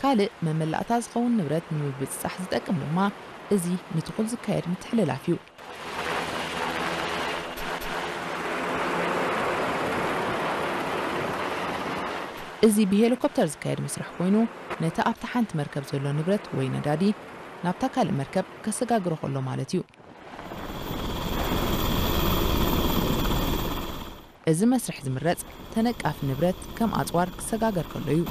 ካልእ መመላእታ ዝኸውን ንብረት ንምብጽጻሕ ዝጠቅም ድማ እዚ ንትኹል ዝካየድ ምትሕልላፍ እዩ። እዚ ብሄሊኮፕተር ዝካየድ መስርሕ ኮይኑ፣ ነቲ ኣብታ ሓንቲ መርከብ ዘሎ ንብረት ወይ ነዳዲ ናብታ ካልእ መርከብ ከሰጋግሮ ከሎ ማለት እዩ። እዚ መስርሕ ዝምረጽ ተነቃፊ ንብረት ከም ኣጽዋር ክሰጋገር ከሎ እዩ።